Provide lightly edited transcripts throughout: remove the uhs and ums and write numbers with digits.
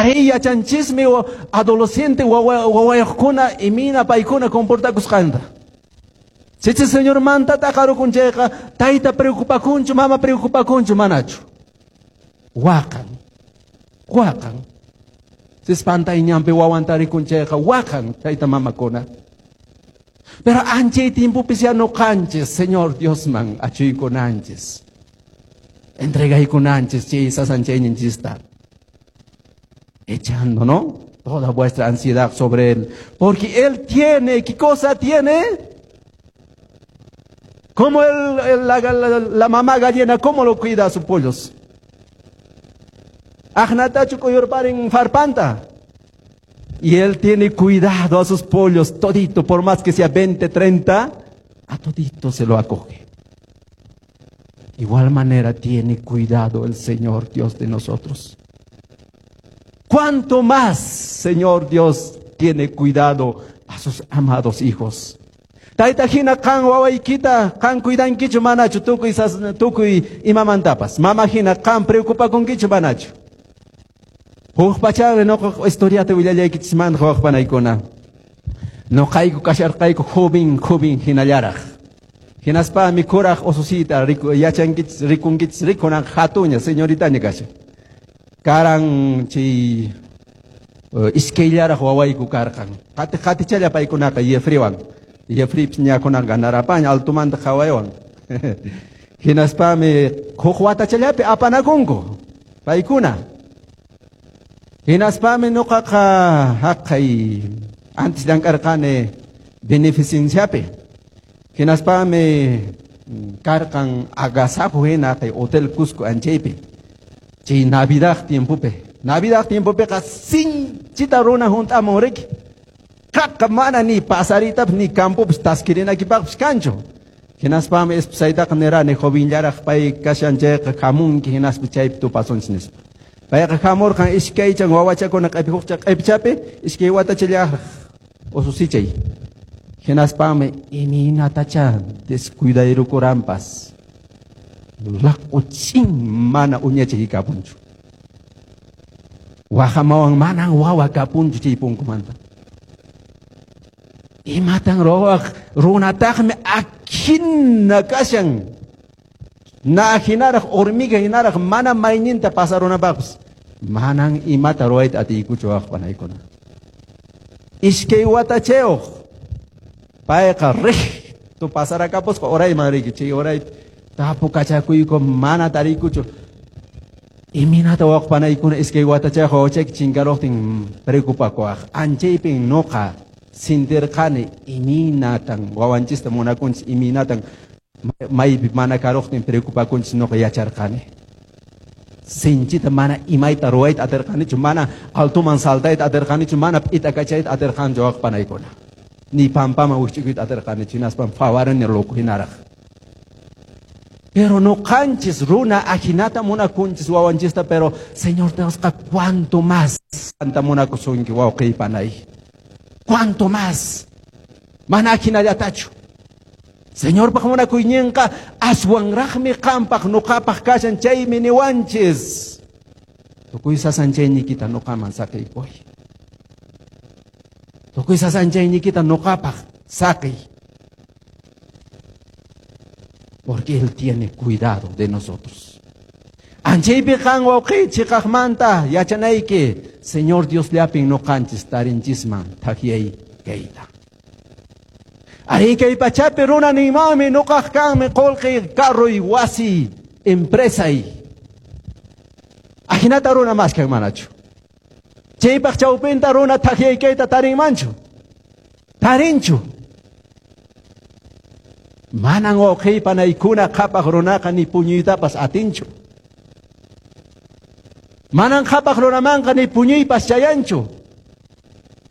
Arí, yachanchismi adolescente wawayuqkuna imina paykuna comportakusqanta. Sichus Señormanta t'aqarukun chayqa, tayta preocupakunchu, mama preocupakunchu, manachu. Waqan, waqan. Sis pantay ñanpi wawanta rikun chayqa, waqan tayta mamakuna. Pero anchay tiempopis ya nuqanchis, Señor Diosman achuykunanchis. Entregaykunanchis chay sasanchayninchista. Echando, ¿no? Toda vuestra ansiedad sobre Él. Porque Él tiene, ¿qué cosa tiene? Como la mamá gallina, ¿cómo lo cuida a sus pollos? Aqnatachu k'uyurparin farpanta. Y Él tiene cuidado a sus pollos, todito, por más que sea 20, 30, a todito se lo acoge. Igual manera tiene cuidado el Señor Dios de nosotros. ¿Cuánto más, Señor Dios, tiene cuidado a sus amados hijos? Tayta hina qan wawaykita, qan cuidankichu manachu tukuy tukuy imamantapas. Mama hina qan preocupakunkichu manachu. Huk pachari nuqa historiata willallaykichismanta wawqi panaykuna. Nuqayku kasharqayku joven, joven hinallaraq. Hinaspami kuraq ususiyta yachankichis, rikunkichis, rikunan hatuña, señoritaña kashan. Karan chay iskayllaraq wawayku karqan. Qati qatichalla paykunaqa Yefriwan. Yefripis ñakunan ganarapaña altumanta qhawaywan. Hinaspami huk watachallapi apanakunku paykuna. Hinaspami nuqaqa haqay antes llank'arqani beneficenciapi. Hinaspami karqan agasajo hina kay Hotel Cusco anchaypi. Chay Navidad tiempopi. Navidad tiempopiqa sinchita runa hunt'amun riki. Qaqa mana ni pasaritapas ni campopis taskirinakipaqpis kanchu. Hinaspami esposaytaqa nirani jovenllaraq pay kashan chayqa hamunki hinaspa chaypi tupasunchis nispa. Payqa hamurqan iskaychan wawachakuna q'ipi hukcha q'ipichapi iskay watachallaraq ususichay. Hinaspami imaynatacha descuidayrukuranpas. Laq'uchin mana uñachay kapunchu. Waqamawan manan wawa kapunchu chay punkumanta. Imatan ruwaq runataqmi akhina kashan. Na hinaraq hormiga hinaraq mana mayninta pasarunapaqpas. Manan imata ruwayta atiykuchu wawqi panaykuna. Iskay watachayuq payqa recto pasarakamusqa urayman riki chay uray tapukachakuyku mana tariykuchu. Imaynata wawqi panaykuna iskay watachayuq wawachayki chinkaruqtin preocupakuwaq. Anchaypin nuqa sintirqani imaynatan wawanchista munakunchis, imaynatan maypi mana karuqtin preocupakunchis nuqa yacharqani. Sinchita mana imayta ruwayta atirqanichu, mana altoman saltayta atirqanichu, mana p'itakachayta atirqanichu wawqi panaykuna. Ni pampaman wikch'ukuyta atirqanichu, hinaspa phawarani loco hinaraq. Pero nuqanchis runa ajinata munakunchis wawanchista, pero Señor Diosqa cuanto más anta munakusunki wawqi panay. Cuanto más mana ajinallatachu. Señorpaq munakuyninqa aswanraqmi qampaq nuqapaq kashan chaymi niwanchis. Tukuy sasanchayniykita nuqaman saqiykuy. Tukuy sasanchayniykita nuqapaq saqiy. Porque Él tiene cuidado de nosotros. Anchaypi qan wawqi chiqaqmanta yachanayki Señor Dios llapin nuqanchis tarinchisman thakyay kayta. Ari kay pachapi runa ninmanmi nuqaq kanmi qullqi carroy wasi empresay. Ajinata runa maskan manachu. Chaypaq chawpinta runa thakyay kayta tarinmanchu. Tarinchu. Manan wawqi panaykuna qhapaq runaqa ni puñuytapas atinchu. Manan qhapaq runamanqa ni puñuypas chayanchu.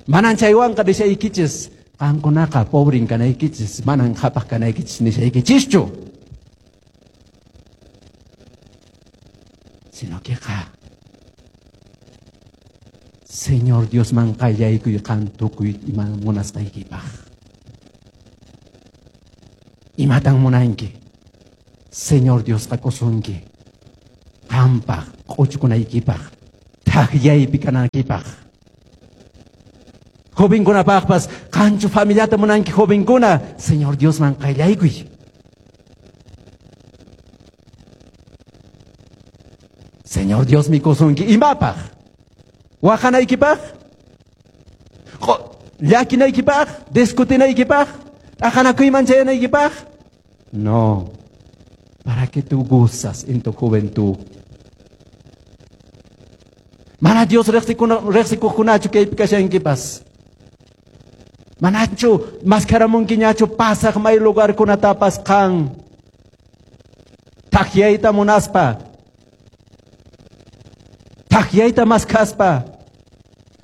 Manan chaywanqa nishaykichis qankunaqa pobrin kanaykichis, manan qhapaq kanaykichis nishaykichischu. Sino que qa Señor Diosman qallaykuy qan tukuy ima munasqaykipaq. Imatan munanki? Señor Diosqa kusunki. Qampaq q'uchukunaykipaq, Thakyaypi kanaykipaq. Jovenkunapaqpas, qanchu familiata munanki jovenkuna, Señor Diosman qayllaykuy. Señor Diosmi kusunki imapaq? Waqanaykipaq? Llakinaykipaq? Discutinaykipaq? T'aqanakuyman chayanaykipaq? No. Para que tú gozas en tu juventud. Mana Dios riqsikuqkunachu kaypi kashankipas. Manachu maskaramunkiñachu pasaq may lugarkunatapas qan. Thakyayta munaspa. Thakyayta maskhaspa.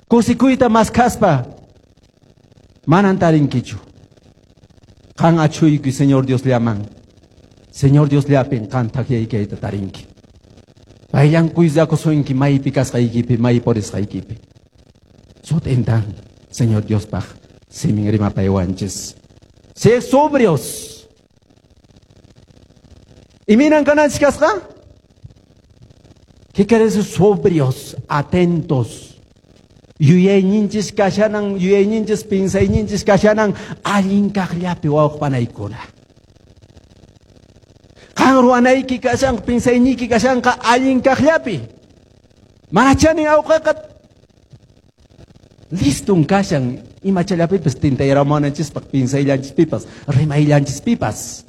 Kusikuyta maskhaspa. Manan tarinkichu. Qan achhuykuy Señor Diosllaman. Señor Diosllapin qan thakyaykayta tarinki. Payllan kuydakusunki maypi kasqaykipi, may purisqaykipi. Sut'intan Señor Diospaq simin rimapaywanchis. Sed sobrios. Imaynan kananchis kasqa? ¿Qué quiere decir sobrios? Atentos. Yuyayninchis kashanan, yuyayninchis pinsayninchis kashanan, allin kaqllapi wawq panaykuna. Qan ruwanayki kashan, pinsayniyki kashanqa allin kaqllapi. Mana chanin awqaqa liston kashan imachallapipis tintayaramunanchispaq pinsayllanchispipas, rimayllanchispipas.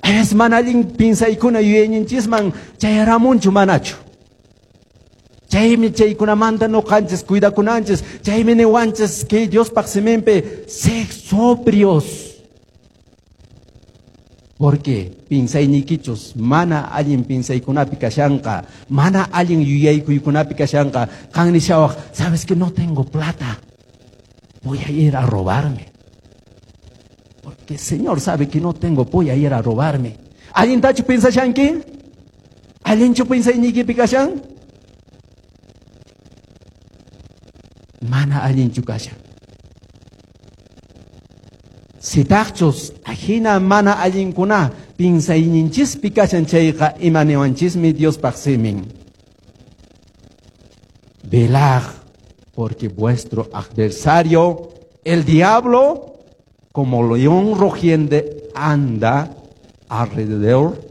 Es mana allin pinsaykuna yuyayninchisman chayaramunchu manachu. Chaymi chaykunamanta nuqanchis cuidakunanchis, chaymi niwanchis kay Diospaq siminpi sed sobrios. Porque pinsaynikichus mana allin pinsaykunapi kashanqa, mana allin yuyaykuykunapi kashanqa, qan nishawaq, sabes que no tengo plata, voy a ir a robarme. Porque el Señor sabe que no tengo, voy a ir a robarme. ¿Allintachu pinsashanki? ¿Allinchu pinsaynikipi kashan? Mana allinchu kashan. Sitaqchus ajina mana allinkuna pinsayninchispi kashan chayqa imaniwanchismi Diospaq simin. Velad, porque vuestro adversario, el diablo, como león rugiente, anda alrededor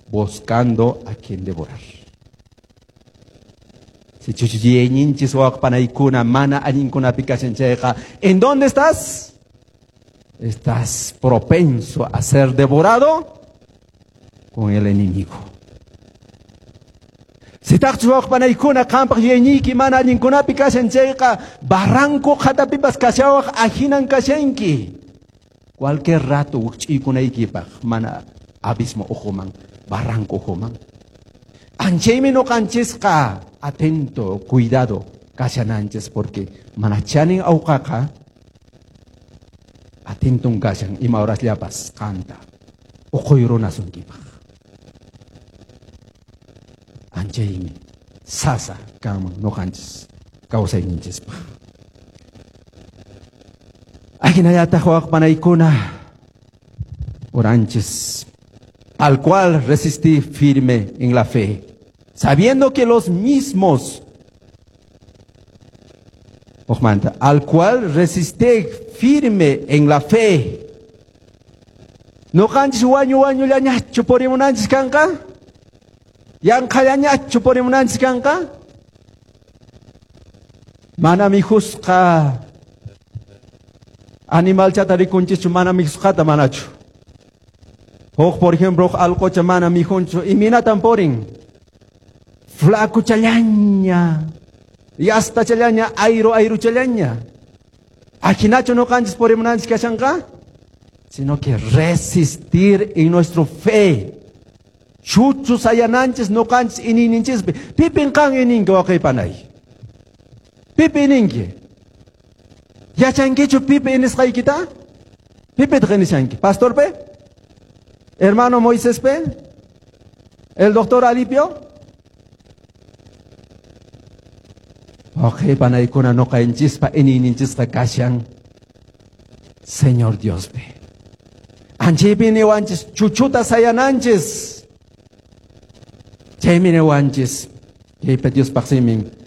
buscando a quien devorar. Sichus yuyayninchis wawqpanaykuna mana allinkunapi kashan chayqa, ¿en dónde estás? Estás propenso a ser devorado con el enemigo. Sitaqchus wawqpanaykuna qampaq yuyayniyki mana allinkunapi kashan chayqa, barranco qhatapipas kashawaq ahinan kashanki. Cualquier rato wikch'uykunaykipaq mana abismo ukhuman, barranco ukhuman. Anchaymi nuqanchisqa atento, cuidado kashananchis, porque mana chanin awqaqa atenton kashan ima horasllapas qanta uquyrunasunkipak. Anchaymi sasa kanman nuqanchis kawsayninchispaq. Ajinallataq wawqpanaykuna oranchis, al cual resistí firme en la fe, sabiendo que los mismos, ojmanta, al cual resistí firme en la fe. Nuqanchis wañu wañullañachu purimunanchis kanqa? Yanqallañachu purimunanchis kanqa? Mana mijusqa animalchata rikunchischu, mana mijusqata manachu. Huk, por ejemplo, huk alqocha mana mijunchu, iminatan purin? Flacuchallaña, yastachallaña, ayru ayruchallaña. Ajinachu nuqanchis purimunanchis kashanqa? Sino que resistir en nuestra fe. Chuchu sayananchis nuqanchis iñiyninchispi. Pipin qan ininki wawqipanay? Pipi ininki? Yachankichu pipi inisqaykita? Pipitaq inishanki? Pastor pe? Hermano Moisés pe? El doctor Alipio? Wawqipanaykuna nuqanchispa iñiyninchisqa kashan Señor Diospi. Anchaypi niwanchis chuchuta sayananchis. Chaymi niwanchis. Kaypa Diospaq simin.